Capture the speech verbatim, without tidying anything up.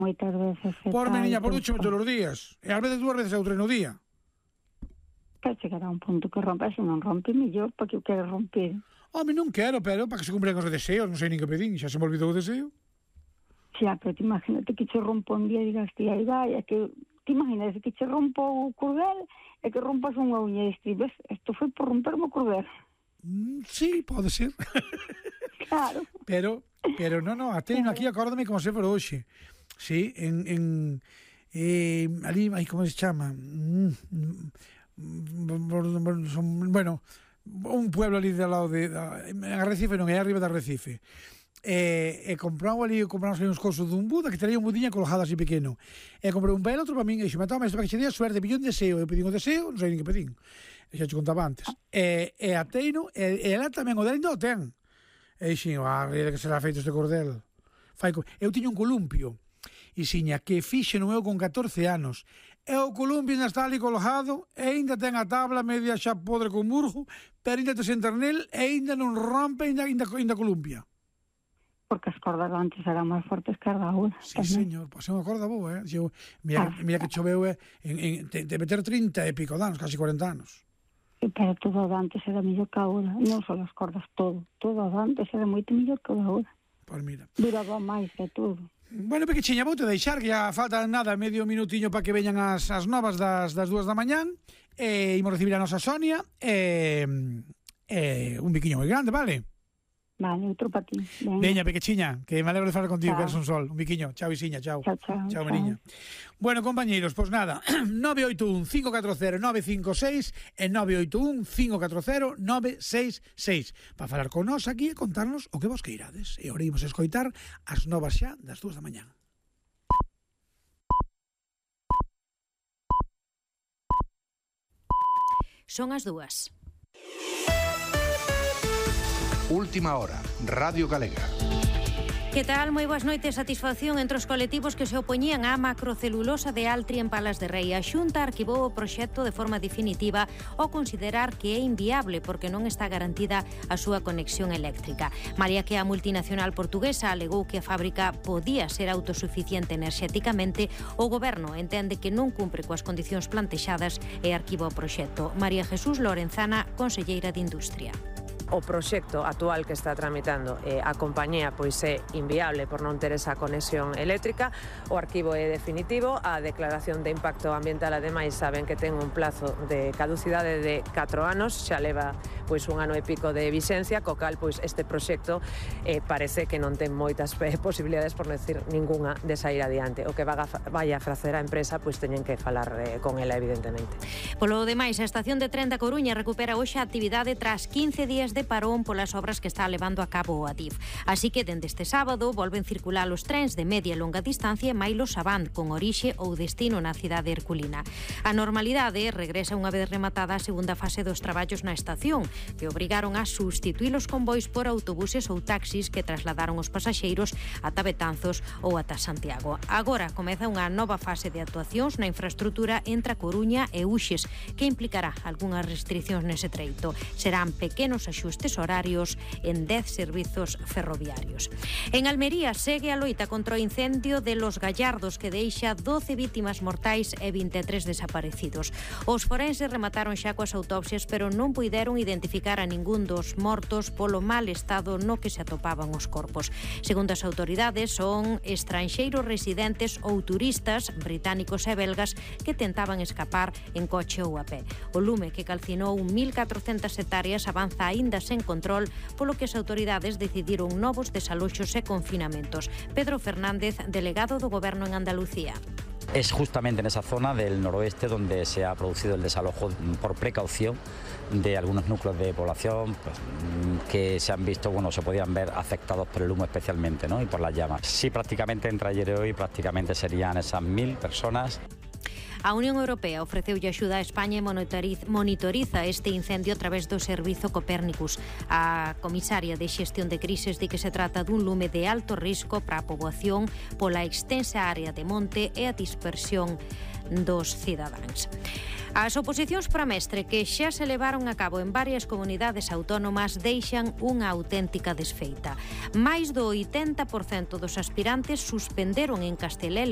moitas veces. Por meniña, por ducho todos os días. E ás veces dúas veces outro no día. Que chegará un punto que rompe, se non rompe, mellor, porque eu quero romper. Home, non quero, pero para que se cumpren os deseos, non sei nin que pedín, xa se me olvidou o deseo. Xa, pero te imagínate que che rompo un día e digas, tía, aí vai, é que te imaginas que che rompo o cordel e que rompas unha uña e estribes, isto foi por romperme o cordel. Mm, sí, pode ser. Claro. Pero, pero non, non, até aquí acórdame como se for hoxe. Sí, en, en eh, ali, aí, como se chama? Mm, bueno, un pueblo ali de lado de, en Arrecife, non é arriba de Arrecife. E, e compramos ali, compramos ali uns cosos dun Buda que traía un budiña colgado así pequeno. E comprei un belo outro para min e xe me toma isto para que che dea suerte, pillou un deseo, eu pedín o deseo, non sei nin que pedín. E xa te contaba antes. E, e a teino, e, e ela tamén o dela ainda o ten. E dixen, ah, ríe que será feito este cordel. Fai, eu tiño un columpio, e xiña que fixe non eu con catorce anos. E o columpio ainda está ali colgado, e ainda ten a tabla media xa podre con murgo, pero ainda te sentar nel, e ainda non rompe, ainda, ainda, ainda columpia. Porque as cordas antes eran máis fortes que as da agora. Sí, señor, pois é unha corda boa, eh? Yo, mira, ah, mira que choveu, eh, en, en, de, de meter trinta e pico de anos, casi cuarenta anos. Pero todo antes era mellor que agora, non só as cordas, todo. Todo antes era moito mellor que agora. Pois mira. Duraba máis que todo. Bueno, pequechiña, vou te deixar, que ya falta nada, medio minutiño para que veñan as, as novas das, das dúas da mañán, e imos recibir a nosa Sonia, e, e un biquiño moi grande, vale? Vale, outro para ti. Veña, pequechiña, que me alegro de falar contigo, que eres un sol. Un biquiño. Chao, Isiña, chao. Chao, chao. Chao, meniña. Bueno, compañeiros, pois pues nada, nove oito un, cinco catro cero, nove cinco seis e nove oito un, cinco catro cero, nove seis seis para falar con nós aquí e contarnos o que vos queirades. E ahora imos a escoitar as novas xa das dúas da mañán. Son as dúas. Última hora, Radio Galega. Que tal? Moi boas noites. Satisfacción entre os colectivos que se opoñían á macrocelulosa de Altri en Palas de Rei. A Xunta arquivou o proxecto de forma definitiva ao considerar que é inviable porque non está garantida a súa conexión eléctrica. Malia que a multinacional portuguesa alegou que a fábrica podía ser autosuficiente enerxéticamente, o goberno entende que non cumpre coas condicións plantexadas e arquiva o proxecto. María Jesús Lorenzana, conselleira de Industria. O proxecto actual que está tramitando eh, a compañía pois é inviable por non ter esa conexión eléctrica. O arquivo é definitivo, a declaración de impacto ambiental ademais saben que ten un plazo de caducidade de catro anos, xa leva pois un ano e pico de vixencia, co cal pois este proxecto eh, parece que non ten moitas eh, posibilidades, por non decir ninguna, de sair adiante. O que vai a facer a empresa pois teñen que falar eh, con ela evidentemente. Polo demais, a estación de tren da Coruña recupera hoxe a actividade tras quince días de parón polas obras que está levando a cabo o Adif. Así que dende este sábado volven circular os trens de media e longa distancia Mailos Avant con orixe ou destino na cidade herculina. A normalidade regresa unha vez rematada a segunda fase dos traballos na estación, que obrigaron a substituir os convois por autobuses ou taxis que trasladaron os pasaxeiros ata Betanzos ou ata Santiago. Agora comeza unha nova fase de actuacións na infraestrutura entre a Coruña e Uxes, que implicará algunhas restriccións nese treito. Serán pequenos axustes horarios en dez servizos ferroviarios. En Almería segue a loita contra o incendio de Los Gallardos, que deixa doce vítimas mortais e vinte e tres desaparecidos. Os forenses remataron xa coas autopsias, pero non puideron identificar a ningún dos mortos polo mal estado no que se atopaban os corpos. Segundo as autoridades, son estranxeiros residentes ou turistas británicos e belgas que tentaban escapar en coche ou a pé. O lume, que calcinou mil catrocentas hectáreas, avanza aínda sen control, polo que as autoridades decidiron novos desaloxos e confinamentos. Pedro Fernández, delegado do Goberno en Andalucía. Es justamente en esa zona del noroeste donde se ha producido el desalojo por precaución de algunos núcleos de población pues, que se han visto, bueno, se podían ver afectados por el humo especialmente, ¿no? Y por las llamas. Sí, prácticamente entre ayer y hoy prácticamente serían esas mil personas. A Unión Europea ofreceulle axuda a España e monitoriza este incendio a través do servizo Copérnicus. A comisaria de xestión de crises di que se trata dun lume de alto risco para a poboación pola extensa área de monte e a dispersión dos cidadáns. As oposicións para mestre que xa se levaron a cabo en varias comunidades autónomas deixan unha auténtica desfeita. Mais do oitenta por cento dos aspirantes suspenderon en Castela e León